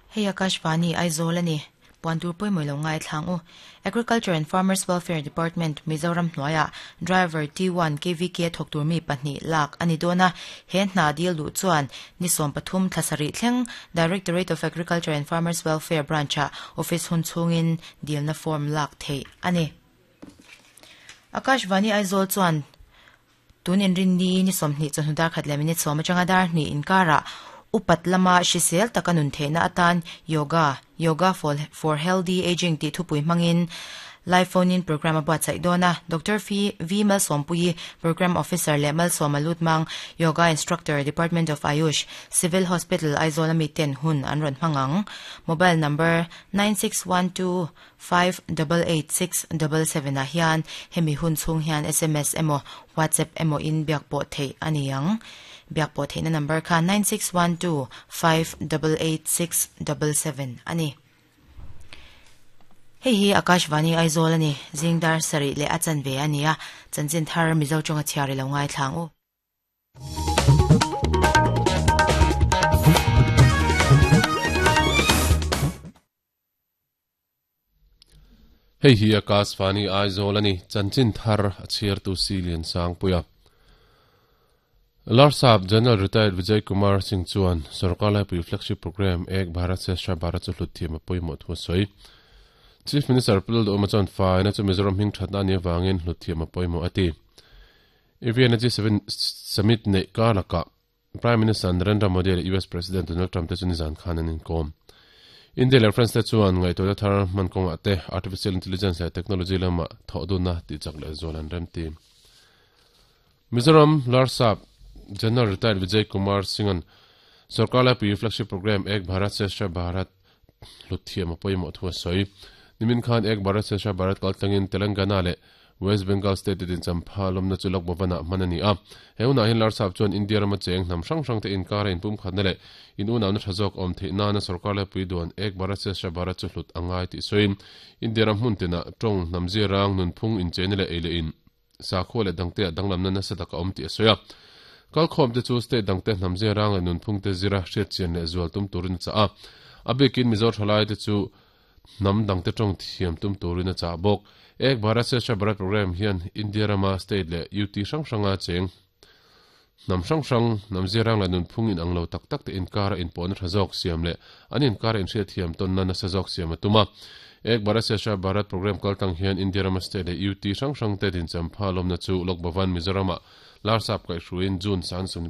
Hei Akashvani, Aizawl a ni. Puan tur pawimawih lo ngaithlang u. Agriculture and Farmers Welfare Department, Mizoram hnuaiah Driver T1 KVK thawk tur mi pahnih lak a ni dawn a. He hna dil duh chuan ni 13 thla sarih thleng Directorate of Agriculture and Farmers Welfare Branch-ah office hun chhungin dilna form lak theih a ni. Akashvani Aizawl chuan Tun inrinni ni 20 chawhnu dar khat leh minute 10 atanga dar hnih inkarah upat lama hrisel taka nun theihna atan Yoga, Yoga for Healthy Ageing tih thupui hmangin Live Phone In Programme a buatsaih dawn a. Doctor V Malsawmpuii, Programme Officer leh Malsawma Lutmang, Yoga Instructor, Department of Ayush, Civil Hospital, Aizawl ami ten hun an rawn hmang ang. Mobile number, 9612 588677 ah hian hemi hun chhung hian sms emaw WhatsApp emaw in biak pawh theih a ni ang. Biak pawh theihna number kha 9612588677 a ni. Hei hi Akashvani Aizawl a ni. Zing dar sarih leh a chanve a ni a, chanchin thar Mizo tawnga chhiar i lo ngaithla ang u. Hei hi Akashvani Aizawl a ni, chanchin thar a chhiartu si Lian Sangpuia. Larsap General Retired Vijay Kumar Singh chuan Sorkar Laipui Flagship Programme Ek Bharat Shreshtha Bharat chu hlut thiam a pawimawh thu a sawi. Chief Minister Pu Lalduhawma chuan faina chu Mizoram hming thatna a nih avangin hlut thiam a pawimawh a ti. EVN-a G7 Summit neih kar lakah Prime Minister Narendra Modi leh US President Donald Trump te chu nizan khan an inkawm. India leh France te chuan ngaihtuahna thar hman kawngah te artificial intelligence leh technology lamah thawh dunna tihchak leh zual an remti. Mizoram Larsap General Retired Vijay Kumar Singh-a'n Sorkar Laipui Flagship Programme Ek Bharat Shreshtha Bharat hlut thiam a pawimawh thu a sawi. Nimin khan Ek Bharat Shreshtha Bharat kaltlangin Telangana leh West Bengal state te dinchampha lawmna chu Lok Bhavan-ah hman a ni a. He hunah hian Larsap chuan India rama cheng hnam hrang hrang te inkara inpumkhatna leh in unauna tha zawk awm theih nana sorkar laipui duan Ek Bharat Shreshtha Bharat chu hlut a ngai tih sawiin India ram hmun tinah tawng, hnam zirang, nunphung, incheina leh ei leh in sakhua leh dangteah danglamna nasa tak a awm tih a sawi a. Kalkhawmte chu state dangte hnam zirang leh nunphungte zira hriatchian leh zual tum turin a chah a. A bikin Mizo thalaite chu hnam dangte tawng thiam tum turin a chah bawk. Ek Bharat Shreshtha Bharat Programme hian India rama state leh UT hrang hranga cheng hnam hrang hrang, hnam zirang leh nunphung inang lo tak tak te inkara inpawhna tha zawk siam leh an inkara inhriatthiam tawnna nasa zawk siam a tum a. Ek Bharat Shreshtha Bharat Programme kaltlang hian India rama state leh UT hrang hrang te dinchampha lawmna chu Lok Bhavan Mizoram-ah Larsap kaihhruaiin June 30.